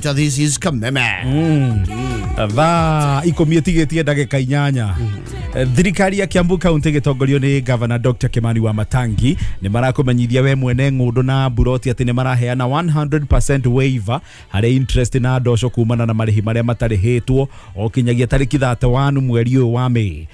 This is Kameme. Thaa 10 ĩtigĩtie ndagĩka 8. Thirikari ya Kiambu County gĩtongorio nĩ Governor Dr. Kimani wa Matangi nĩ marakũmenyithia we mwene ng'ũndũ na mburoti atĩ nĩ maraheana 100% waiver harĩ interest na ndoco kumana na marĩhi marĩa matarĩhĩtwo o kinyagia tarĩki 31 mweri ũyũ wa Mĩĩ.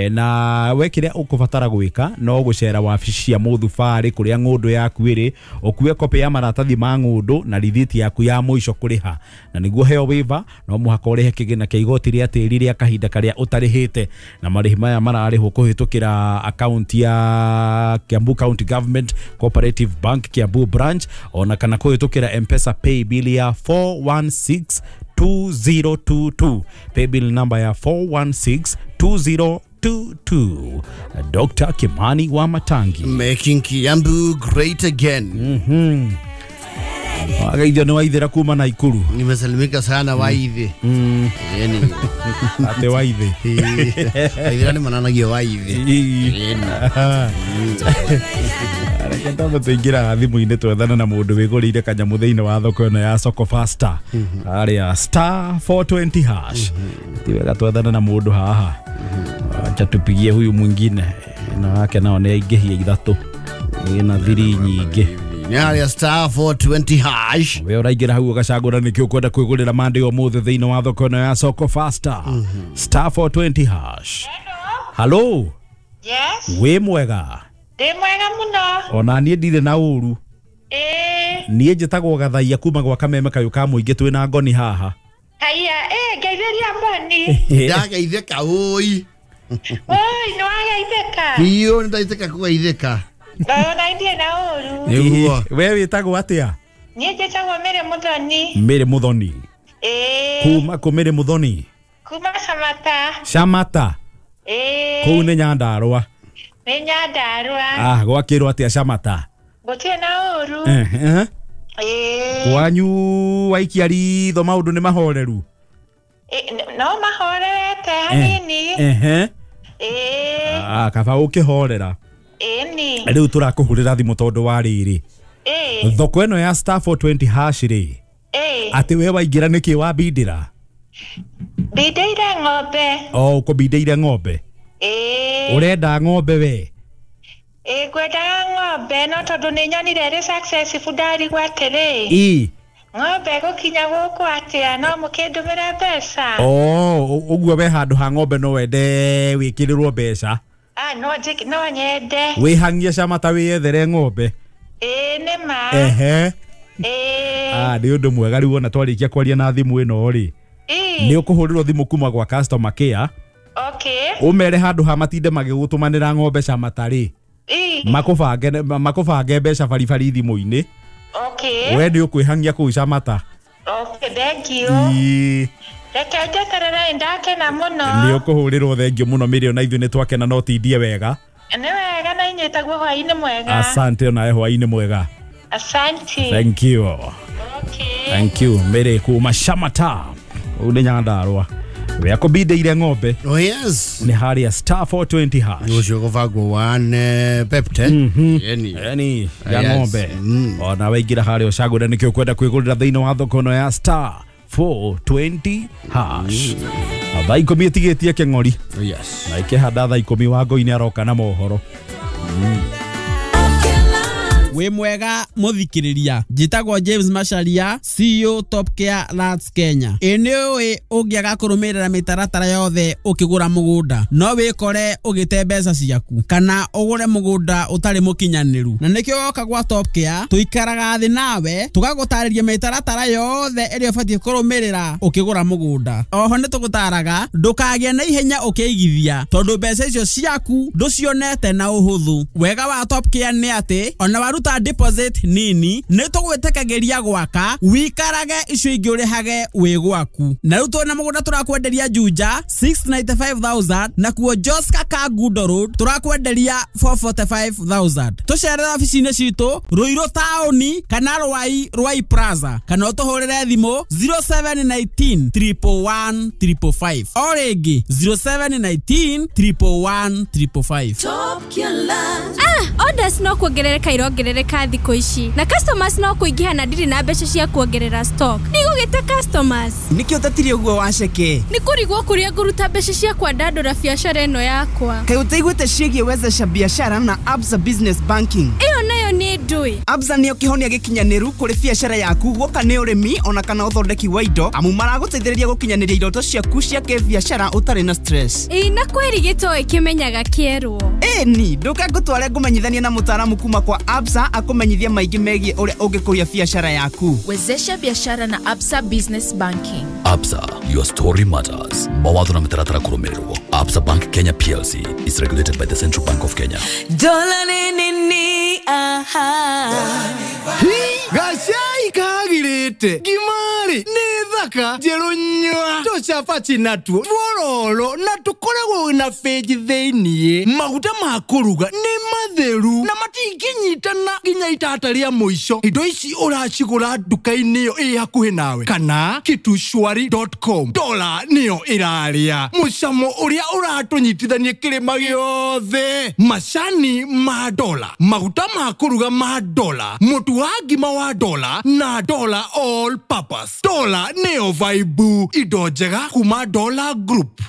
Na we kĩrĩa ũkũbatara gwĩka no gũcera wabici cia mũthubarĩ kũrĩa ng'ũndũ yaku ĩrĩ, ũkue kopĩ ya maratathi ma ng'ũndũ na rithiti yaku ya mũico kũrĩha, na nĩguo heo waiver no mũhaka ũrĩhe kĩgĩna kĩa igoti rĩa tĩri rĩa kahinda karĩa ũtarĩhĩte, na marĩhi maya mararĩhwo kũhĩtũkĩra akaunti ya Kiambu County Government Cooperative Bank Kiambu branch, ona kana kũhĩtũkĩra M-Pesa pay bill ya 416 2022, pay bill number ya 416 2022. Dr. Kimani wa Matangi, making Kiambu great again. Wagaithio nĩ waithĩra kuma Naikuru. Nimesalimika sana waithi. Yani ate waithi. Waithĩra nĩ mananagio waithi. Reke twambe tũingĩra thimũ-inĩ twethane na mũndũ wĩgũrĩire kanyamũ thĩinĩ wa thoko ĩno ya Soko Faster harĩa star 420 hash. Ti wega twethane na mũndũ haha. Acha tupigie huyu mwingine ĩno yake nao nĩ aingĩhia ithatũ ĩna thiri nyingĩ. Nĩ harĩa star 420 hash. We ũraingĩra hau ũgacagũra nĩkĩ ũkwenda kwĩgũrĩra Monday ũmũthĩ thĩinĩ wa thoko ĩno ya Soko Faster star 420 hash. Hello. Yes. Wĩ mwega? Ndĩ mwega mũno. Ona niĩ ndirĩ na ũru. Niĩ njĩtagwo Gathaia kuma gwa Kameme kayũ ka mũingĩ twĩna ngoni haha. Haiya, ngeithĩria mboni. Ndageithĩka ũi. Oi, nĩ wageithĩka? Biũ nĩ ndaithĩka kũgeithĩka. Ona ndirĩ na ũru. Nĩguo. We wĩtagwo atĩa? Niĩ njĩtagwo Mary Mũthoni. Mary Mũthoni. Kuma kũ Mary Mũthoni? Kuma Shamata. Shamata. Kũu nĩ Nyandarũa. Nĩ Nyandarũa. Ah, gwakĩrwo atĩa Shamata? Gũtirĩ na ũru. Kwanyu waikia ritho maũndũ nĩ mahoreru? No mahorerete hanini. Ah, kaba ũkĩhorera. Rĩu tũrakũhũrĩra thimũ tondũ wa rĩrĩ. Thoko ĩno ya star 420 hash rĩ, atĩ we waingĩra nĩkĩ wambindĩra? Mbindĩire ng'ombe. O ũkũmbindĩire ng'ombe? Ũrenda ng'ombe we? Ngwendaga ng'ombe no tondũ nĩ nyonire ĩrĩ successful ndarigwo atĩrĩ. Ng'ombe gũkinya gũkũ atĩa no mũkĩndũmĩre mbeca? Ũguo we handũ ha ng'ombe no wende wĩkĩrĩrwo mbeca? Ah, no nyende. Wĩhang'ie Shamata wĩyethere ng'ombe? Nĩ ma. Ah, nĩ ũndũ mwega rĩu ona twarĩkia kwaria na thimũ ĩno rĩ. Nĩ ũkũhũrĩrwo thimũ kuma gwa customer care. Ũmere handũ ha matinde magĩgũtũmanĩra ng'ombe Shamata rĩ. Makũbange mbeca baribari thimũ-inĩ. We nĩ ũkwĩhang'ia kũu Shamata. Thank you. Reke njeterere ndakena mũno. Nĩ ũkũhũrĩrwo thengio mũno Mary, ona ithuĩ nĩ twakena no tindie wega. Nĩ wega na inyuĩ taguo hwaĩ-inĩ mwega. Asante onawe hwaĩ-inĩ mwega. Asante. Thank you. Thank you Mary kuma Shamata. Ũũ nĩ Nyandarũa. We akũmbindĩire ng'ombe. Oh yes. Nĩ harĩa star 420 hash. Ũcio gũbangwo one pepte. Yani ya ng'ombe. Ona waingĩra harĩa ũcagũre nĩkĩ ũkwenda kwĩgũrĩra thĩinĩ wa thoko ĩno ya star 420 hash. Thaa 10 ĩtigĩtie kĩng'ori. Yes. Na ikĩhanda thaa 10 Wangũi aroka na mohoro. Wĩ mwega mũthikĩrĩria, njĩtagwo James Macharia, CEO Top Care Lands Kenya. Ĩ nĩ ũĩ ũngĩaga kũrũmĩrĩra mĩtaratara yothe ũkĩgũra mũgũnda no wĩkore ũgĩte mbeca ciaku kana ũgũre mũgũnda ũtarĩ mũkinyanĩru, na nĩkĩo woka gwa Top Care tũikaraga thĩ nawe tũgagũtarĩria mĩtaratara yothe ĩrĩa ũbatiĩ kũrũmĩrĩra ũkĩgũra mũgũnda. Oho nĩ tũgũtaraga ndũkagĩe na ihenya ũkĩigithia tondũ mbeca icio ciaku ndũcionete na ũhũthũ. Wega wa Top Care nĩ atĩ ona waruta deposit nini nĩ tũgwĩtĩkagĩria gwaka wikarage icio ingĩ ũrĩhage wĩ gwaku. Na rĩu twĩna mũgũnda tũrakwenderia Juja 695,000 na kuo Joska Kangundo Road tũrakwenderia 445,000. Tũcerere obici-inĩ citũ Ruiru taũni kana Rwai Rwai Plaza kana ũtũhũrĩre thimũ 0719 111 555. O rĩngĩ 0719 111 555. Ah, orders no kuongerereka irongerereka. ĩrongerereka thikũ ici na customers no kũingĩha na ndirĩ na mbeca cia kuongerera stock. Ndigũgĩte customers. Nĩkĩo ũtatirie ũguo waceke? Nĩ kũrigwo kũrĩa ngũruta mbeca cia kwandandũra biacara ĩno yakwa. Kaĩ ũtaiguĩte ciĩgiĩ wezesha biashara na Absa Business Banking? Ĩyo nayo nĩ ndũĩ. Absa nĩyo kĩhonia gĩkinyanĩru kũrĩ biacara yaku, guoka nĩ ũrĩmi ona kana ũthondeki wa indo, amu maragũteithĩrĩria gũkinyanĩria iroto ciaku cia kĩbiacara ũtarĩ na stress. Ĩĩ, na kweri gĩtoĩ kĩmenyaga kĩerwo. Ĩni, ndũke ngũtware ngũmenyithanie na mũtaaramu kuma kwa Absa akũmenyithie maingĩ megiĩ ũrĩa ũngĩkũria biacara yaku. Wezesha biashara na Absa Business Banking. Absa, your story matters. Mawatho na mĩtaratara kũrũmĩrĩrwo. Absa Bank Kenya PLC is regulated by the Central Bank of Kenya. Dola ni ni aha. Gacai kagirĩte ngimari nĩ thaka njerũ nyua tũcabaci natuo tuororo na tũkoragwo na bĩnji thĩiniĩ. Maguta ma kũruga nĩ matheru na matingĩnyitana nginya itata rĩa mũico. Indo ici ũracigũra nduka-inĩ ĩyo ĩ hakuhĩ nawe kana kitushwari.com. Dola nĩyo ĩrarĩa mũcamo ũrĩa ũratũnyitithania kĩrĩma gĩothe. Macani ma dola, maguta ma kũruga ma dola, mũtu wa ngima wa dola na dola all purpose. Dola nĩyo vaibu, indo njega kuma Dola Group.